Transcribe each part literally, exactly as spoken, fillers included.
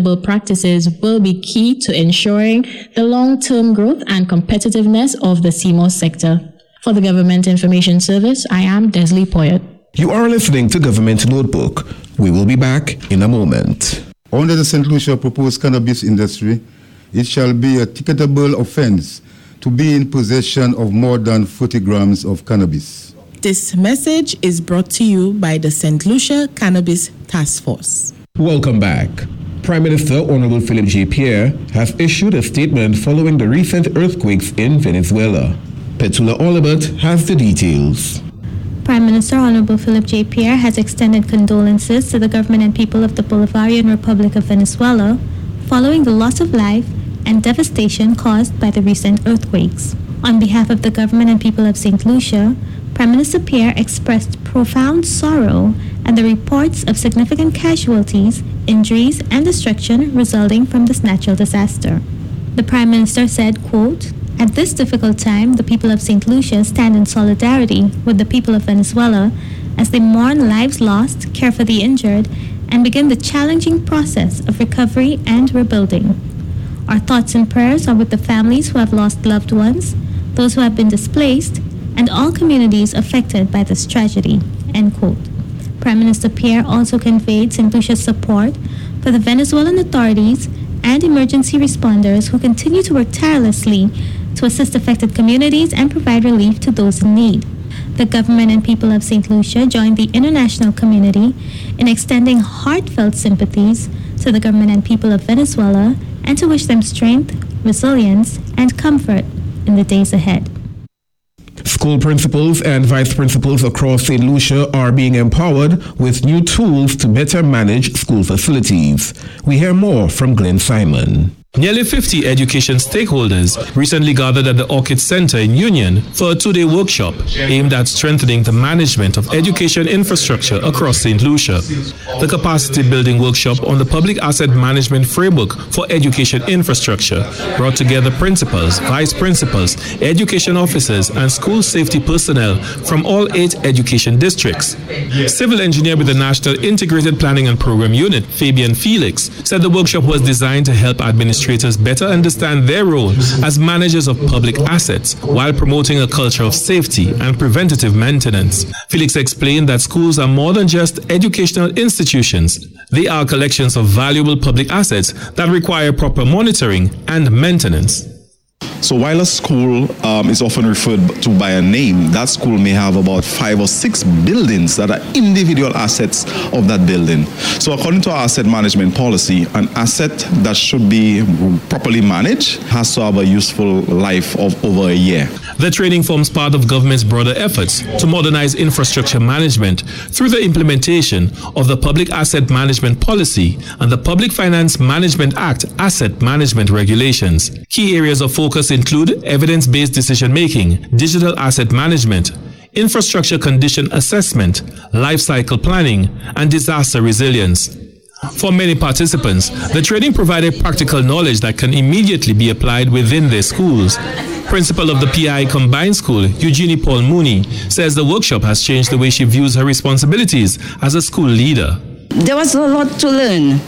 sustainable practices will be key to ensuring the long-term growth and competitiveness of the sea moss sector. For the Government Information Service, I am Desley Poyet. You are listening to Government Notebook. We will be back in a moment. Under the Saint Lucia proposed cannabis industry, it shall be a ticketable offense to be in possession of more than forty grams of cannabis. This message is brought to you by the Saint Lucia Cannabis Task Force. Welcome back. Prime Minister Honorable Philip J. Pierre has issued a statement following the recent earthquakes in Venezuela. Petula Olibert has the details. Prime Minister Honorable Philip J. Pierre has extended condolences to the government and people of the Bolivarian Republic of Venezuela following the loss of life and devastation caused by the recent earthquakes. On behalf of the government and people of Saint Lucia, Prime Minister Pierre expressed profound sorrow at the reports of significant casualties, injuries, and destruction resulting from this natural disaster. The Prime Minister said, quote, "At this difficult time, the people of Saint Lucia stand in solidarity with the people of Venezuela as they mourn lives lost, care for the injured, and begin the challenging process of recovery and rebuilding. Our thoughts and prayers are with the families who have lost loved ones, those who have been displaced, and all communities affected by this tragedy," end quote. Prime Minister Pierre also conveyed Saint Lucia's support for the Venezuelan authorities and emergency responders who continue to work tirelessly to assist affected communities and provide relief to those in need. The government and people of Saint Lucia joined the international community in extending heartfelt sympathies to the government and people of Venezuela and to wish them strength, resilience, and comfort in the days ahead. School principals and vice principals across Saint Lucia are being empowered with new tools to better manage school facilities. We hear more from Glenn Simon. Nearly fifty education stakeholders recently gathered at the Orchid Center in Union for a two-day workshop aimed at strengthening the management of education infrastructure across Saint Lucia. The capacity building workshop on the Public Asset Management Framework for Education Infrastructure brought together principals, vice principals, education officers, and school safety personnel from all eight education districts. Civil engineer with the National Integrated Planning and Program Unit, Fabian Felix, said the workshop was designed to help administrators better understand their role as managers of public assets while promoting a culture of safety and preventative maintenance. Felix explained that schools are more than just educational institutions. They are collections of valuable public assets that require proper monitoring and maintenance. So while a school, um, is often referred to by a name, that school may have about five or six buildings that are individual assets of that building. So according to our asset management policy, an asset that should be properly managed has to have a useful life of over a year. The training forms part of government's broader efforts to modernize infrastructure management through the implementation of the Public Asset Management Policy and the Public Finance Management Act Asset Management Regulations. Key areas of focus include evidence-based decision-making, digital asset management, infrastructure condition assessment, life cycle planning, and disaster resilience. For many participants, the training provided practical knowledge that can immediately be applied within their schools. Principal of the P I Combined School, Eugenie Paul Mooney, says the workshop has changed the way she views her responsibilities as a school leader. There was a lot to learn.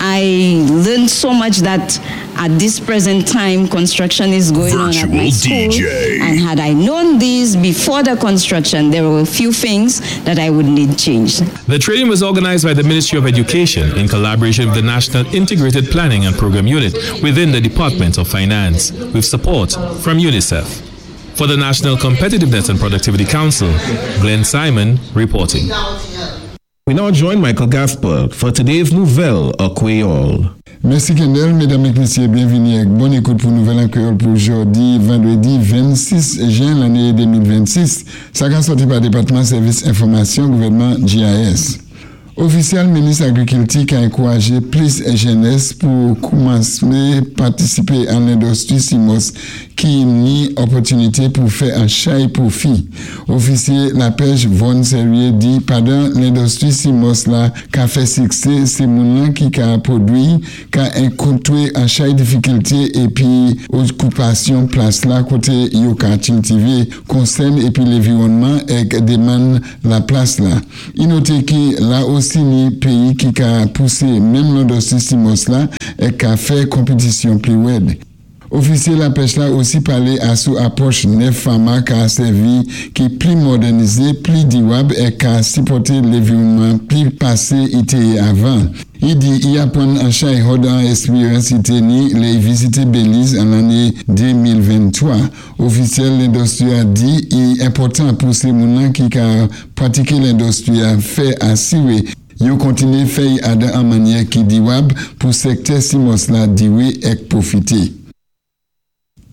I learned so much that at this present time, construction is going on at my Virtual school. D J. And had I known this before the construction, there were a few things that I would need changed. The training was organized by the Ministry of Education in collaboration with the National Integrated Planning and Program Unit within the Department of Finance, with support from UNICEF. For the National Competitiveness and Productivity Council, Glenn Simon reporting. We now join Michael Gaspar for today's Nouvèl an Kwéyòl. Mèsi Kendall, médam é mésyé, byenvini ak bòn ékout pou Nouvèl an Kwéyòl pou jòdi vandrédi vennsis jen lanné de mil vennsis. Sa ka sòti pa Dépatman Sèvis Enfòmasyon Gouvèdman G I S. Ofisyèl Minis Agrikilti ka ankourajé plis jènès pou koumansé patisipé an lendistwi sea moss. ki ni òpòtinité pou fè an chay pwofi. Ofisyé lapèch Von Serrier di pandan lendistwi sea moss la ka fè siksé, sé moun-lan ki ka pwodwi ka ankontwé an chay difikilté épi okipasyon plas la koté yo ka kiltivé konsèn épi lanviwònman èk demann la plas la. I noté ki la osi ni péyi ki ka pousé menm lendistwi sea moss la èk ka fè konpitisyon pli wèd. Ofisyé lapèch la osi palé asou apwòch nèf fama ka sèvi ki pli modènizé, pli diwab èk ka sipòté lanviwònman pli pasé i té avan. I di i apwann an chay hòd an èksperyans i té ni lè i vizité Belize an lanné de mil venntwa. Ofisyèl lendistwi a di i enpòtan pou sé moun-lan ki ka pwatiké lendistwi a fè asiwé yo kontiné fè'y adan an mannyè ki diwab pou sèktè sea moss la diwé èk pwofité.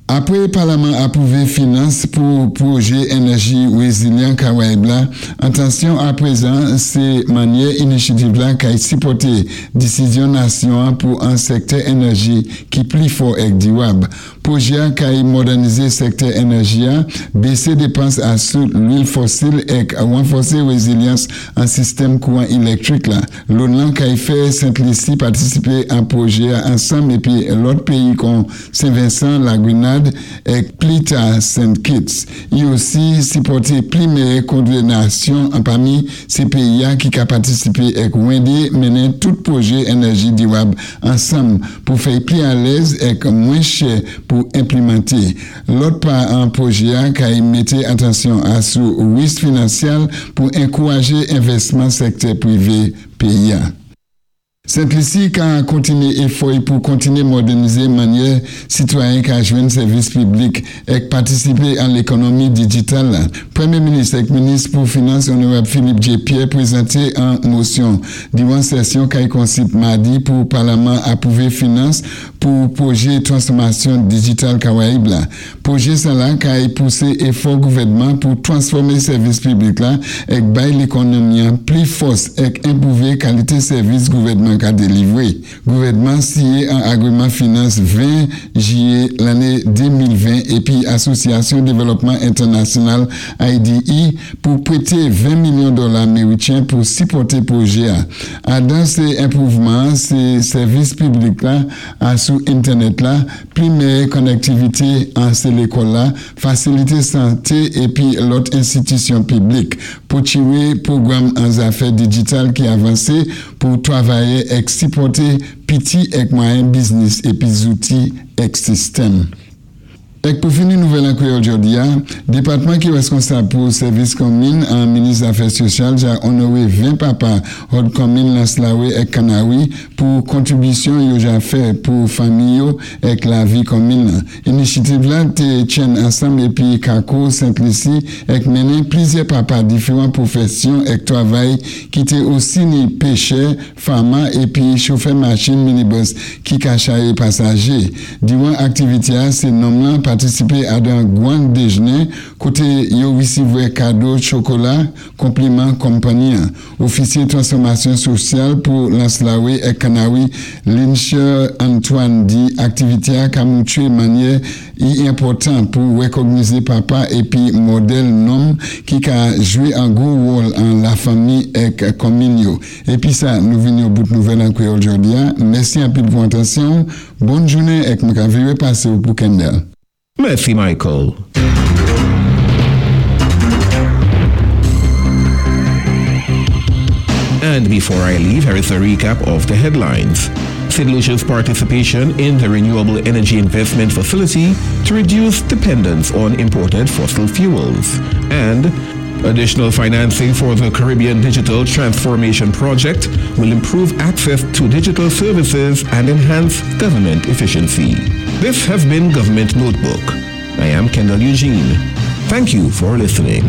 Apwé Palaman apwouvé finans pou pwojé Enèji Wézilyan Karayib la, atansyon apwézan sé mannyè inisyativ la kay sipòté disizyon nasyon pou an sèktè enèji ki pli fò èk diwab. Pwojé a kay modènizé sèktè enèji a, bésé dépans asou lwil fosil èk wanfòsé wézilyans an sistèm kouwan ilèktwik la. Loan lan kay fè Sent Lisi patisipé an pwojé a ansanm épi lòt péyi kon Sen Vensan, La Grenad èk plita Saint Kitts. I osi sipòté pli meyè kowòdinasyon an pami sé péyi a ki ka patisipé èk wendé mennen tout pwojé enèji diwab ansanm pou fè'y pli alèz èk mwen chè pou enplimanté. Lòt pa an pwojé a kay mété atansyon asou wis finansyal pou ankouwajé envèsman sèktè pwivé péyi a. Sent Lisi ka kontiné éfò'y pou kontiné modènizé mannyè sitwayen ka jwenn sèvis piblik èk patisipé an lékònonmi dijital la. Pwémyé minis èk minis pou finans Onorab Philip J. Pierre pwézanté an mosyon diwan sésyon kay konsip madi pou Palaman apwouvé finans pou pwojé twasfòmasyon dijital Karayib la. Pwojé sa la kay pousé éfò gouvèdman pou twasfòmé sèvis piblik la èk bay lékònonmi an pli fòs èk enpwouvé kalité sèvis gouvèdman ka délivwé. Gouvèdman siyé an agwiman finans ven jiyé lanné de mil ven épi Asosyasyon Dévélopman Entènasyonal I D E pou pwété ven milyon dola méwityen pou sipòté pwojé a. Adan sé enpwouvman, sé sèvis piblik la asou entènèt la, pli meyè konnèktivité an sé lékòl la, fasilité santé épi lòt enstitisyon piblik. Pou tiwé pwogram an zafè dijital ki avansé pou twavayè èk sipòté piti èk mwayen biznis épi zouti èk sistèm. Èk pou fini nouvèl an kwéyòl jòdi a, dépatman ki wèskonsab pou sèvis konmin an minis Zafè Sosyal ja onowé ven papa hòd konmin Lans Lawé èk Kanawi pou kontribisyon yo ja fè pou fanmi yo èk lavi konmin lan. Inisyativ la té tyenn ansanm épi Kako Sent Lisi èk mennen plizyè papa diféwan pwofésyon èk twavay ki té osi ni péchè, fama épi chofè machin minibus ki ka chayé pasajé. Diwan aktivité a, sé nonm lan patisipé adan gwan déjnen koté yo wisivwé kado chokola konpliman konpanyi an. Ofisyé twasfòmasyon sosyal pou Lans Lawé èk Kanawi, Lincher Antoine di aktivité a ka moutwé mannyè i enpòtan pou wékognizé papa épi modèl nonm ki ka jwé an gwo wòl an lafanmi èk konmin yo. Épi sa, nou vini o bout nouvèl an kwéyòl jòdi a. Mèsi anpil pou atansyon. Bòn jounen èk mwen ka viré pasé ou pou Kendall. Mèsi, Michael. And before I leave, here is a recap of the headlines. Saint Lucia's participation in the Renewable Energy Investment Facility to reduce dependence on imported fossil fuels. And additional financing for the Caribbean Digital Transformation Project will improve access to digital services and enhance government efficiency. This has been Government Notebook. I am Kendall Eugene. Thank you for listening.